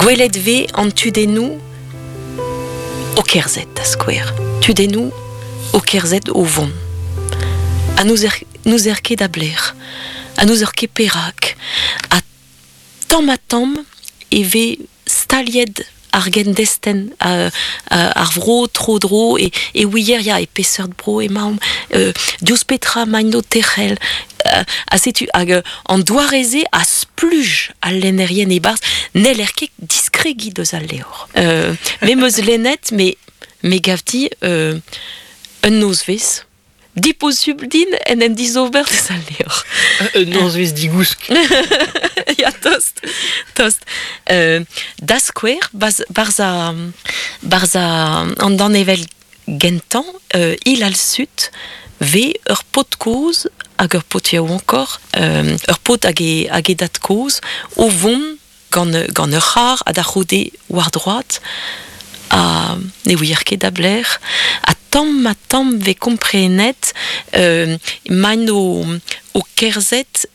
Gwelet 'vez an tudennoù o kerzhet, da skouer. Tudennoù o kerzhet o vont. Ha n'ouzer ket a-blec'h. Ha n'ouzer ket perak. Ha tamm-ha-tamm e vez staliet ar gendestenn ar vro tro-dro e, e ouier ya e peseurt bro emaomp diouzh petra emaint o tec'hel ha setu hag an doare-se a spluj al lennerien e-barzh n'heller ket diskregiñ deus al levr me 'm eus lennet me me gav dit un nozvezh Diposubl din en em dizober deus al levr. Un nozvezh digousk. ya, tost, tost. Da skouer, barzh barzh an danevell gentañ, Il al Sud, 'vez ur paotr kozh hag ur paotr yaouankoc'h, ur paotr hag e hag e dad-kozh o vont gant, gant ur c'harr ha da c'houde war droad ha ne ouier ket da blec'h ha tamm ha tamm 'vez komprenet emaint o, o kerzhet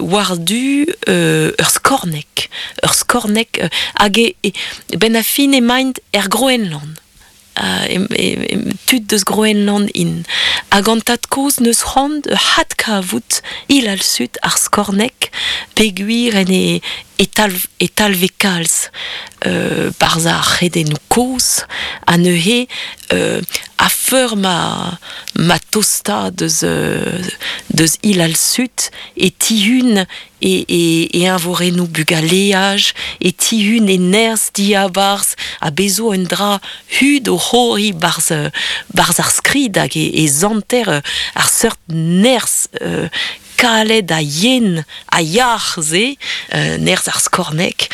war-du ur skorneg ur skorneg hag e, benn ar fin emaint er Groenland tud deus Groenland int. Hag an tad-kozh 'neus c'hoant hadkavout Il al Sud ar skorneg peogwir en e e talv e talve kalz barzh ar c'hredennoù kozh ha neuze a-feur ma ma tosta deus deus Il al Sud e tihun e, e, e eñvorennoù bugaleaj, e tihun e nerzh diabarzh ha bez zo un dra hud o c'horiñ barzh, barzh ar skrid hag e, e zanter ar seurt nerzh kalet ha yen ha yac'h-se, nerzh ar skorneg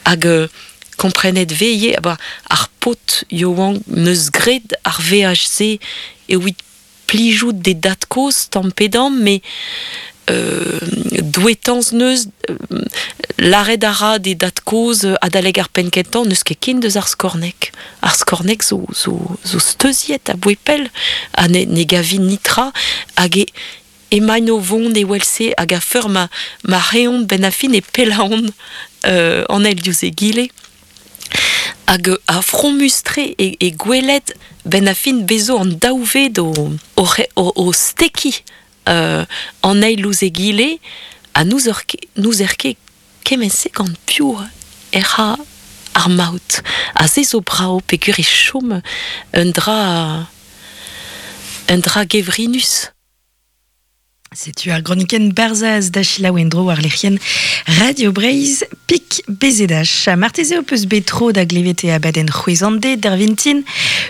hag komprenet 'vez ivez ar paotr yaouank 'neus graet ar veaj-se evit plijout d'e dad-kozh tamm pe damm, met douetañs 'neus lâret a ra d'e dad-kozh adalek ar penn-kentañ n'eus ket ken deus ar skorneg. Ar skorneg zo, zo, zo steuziet aboe pell ha ne, ne gavin netra hag e emaint o vont evel-se hag a-feur ma, ma reont benn ar fin e pellaont an eil diouzh egile. Hag ar fromus-tre e, e gwelet 'benn ar fin bezo an daou ved o, o, o, o stekiñ an eil ouzh egile ha n'ouzer ket, n'ouzer ket kement-se gant piv ec'h a ar maout. Ha se zo brav peogwir e chom un dra un dra gevrinus. Setu ar gronikenn Barzhaz da selaou en-dro war lec'hienn Radio Breizh Pik BZH. Marteze ho peus bet tro da glevet e abadenn c'hwezhande d'ar vintin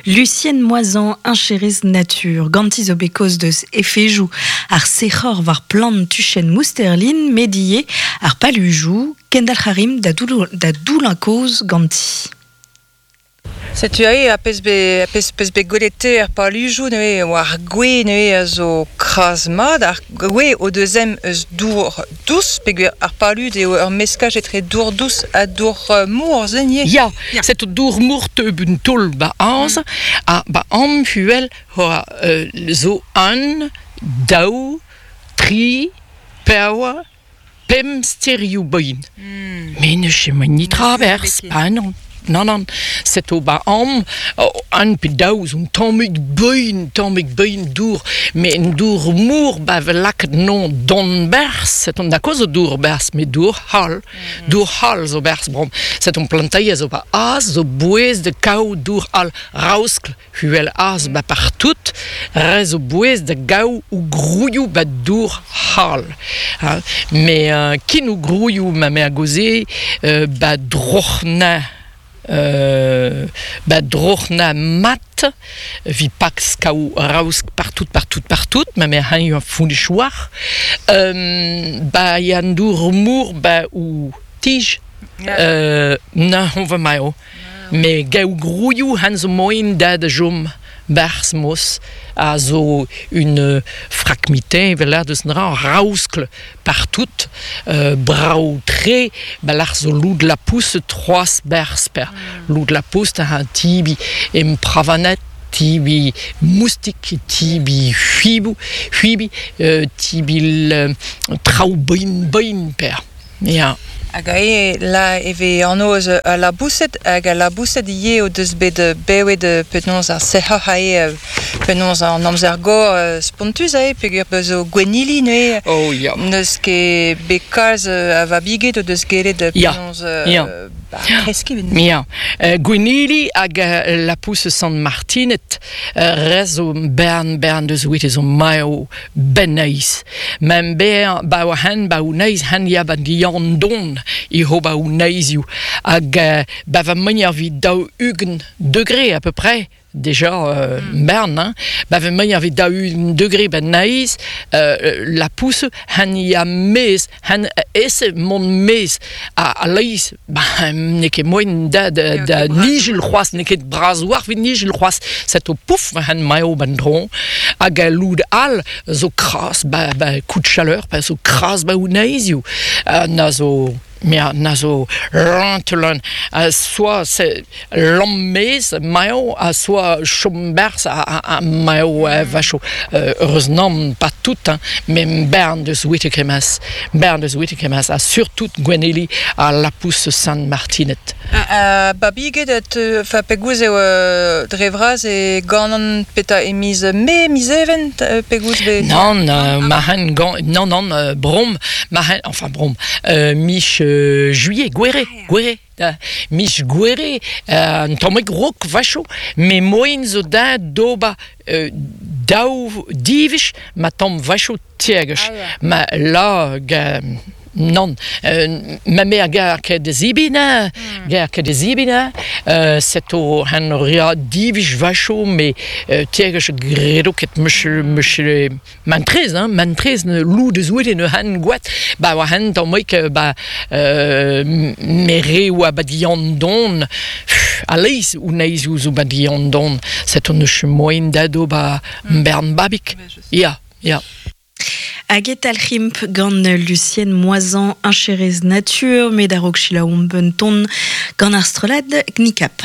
Lucienne Moisan, heñcherez natur. Ganti zo bet kaoz deus efejoù ar sec'hor war plant tuchenn Mousterlin, met ivez ar palujoù. Kendalc'h a rimp da doullañ kaoz ganti. Setu aze ar pezh bet pezh peus bet gwelet te er palujoù neuze war gwez neuze a zo kras-mat. Ar gwez o deus ezhomm eus dour dous peogwir ar palud eo ur meskaj etre dour dous ha dour mor se ivez. Ya, setu dour mor teu un taol 'ba aze ha 'ba amhuel oa zo un, daou, tri, pevar, pemp sterioù boin. Met ne chom netra a-berzh, pa non. Nann, nann, setu ba am un pe daou zo un tammig beun, tammig beun dour, met un dour mor ba vez lakaet non don berzh, setu na koz zo dour berzh, met dour c'hall, dour c'hall zo berzh bon. Setu planteier zo ba az zo bouez da kaout dour all raoskl Huel az ba partout, re zo bouez da gaou ou grouioù ba dour c'hall. Hein. Mais euh, kin ou grouioù ma mère goze euh, ba droc'hna euh, ba droc'hna mat vi pax kaou raosk partout partout partout ma mère hañ un founichouar euh, ba yan dour mour ba ou tij euh, na on va maio Met gaou grouioù han zo moaien da da chom 'barzh mos a zo un frakmite evel deus dra raoskl partout brav-tre ba lec'h zo loud lapous troaz berzh per loud lapous da tibi em pravanet tibi moustik tibi c'hwiboù c'hwibi tibi traoù boin boin per ya. Hag ae la e ve anv eus a laboused hag a laboused ivez o deus bet bewet penaos ar sec'hoc'h ae penaos an amzer gor spontus ae peogwir beus zo gwennili neuze. Oh ya. N'eus ket bet kalz a vabiged o deus gellet penaos ba kreskiñ. Ya. Gwennili hag lapous Sant Martinet re zo bern bern deus wit zo maeo benneiz. Men ber ba oa hen ba o neiz hen ya ba dian don i ho ba o neizioù. Hag ba va manier vid 40 degré à peu près déjà bern, hein, ba va manier vid 40 degré ben neiz la pousse hen ya mez hen ese mont mez a leiz ba n'eo ket moen da da nijel c'hoazh n'eo ket bras war vit nijel c'hoazh set o pouf hen maeo ban dron hag a loud all zo kras ba coup de chaleur pa zo kras ba o neizioù na zo mea na zo rantelan soit c'est lammez maeo a soit chomberz a maeo vacho heureusement pas tout hein, mais bern deus witekemas a surtout Gweneli a la pousse San Martinet. Babiged et fa pegouz eo dre vras e ganan peta e miz me miz even pegouz be Non ma hen gan non non brom ma hen enfin brom mich juillet gwere gwere mich gwere un tammig rok vacho me moen zo da doba daou divich ma tamm vacho tiegech ma la non ma mère gar ket de zibina gar ket de zibina set o hen ria divich vacho me tiegech gredo ket monsieur mantrez hein mantrez ne lou de zouet ne han gwat ba oa hen tammig ba me re oa ba dian don a leiz ou neiz ou zo ba dian don set on neus moen dado ba bern babik ya ya. Hag et alc'himp gant Lucienne Moisan incherez nature, met a-raok selaouomp un ton gant ar strollad Knikap.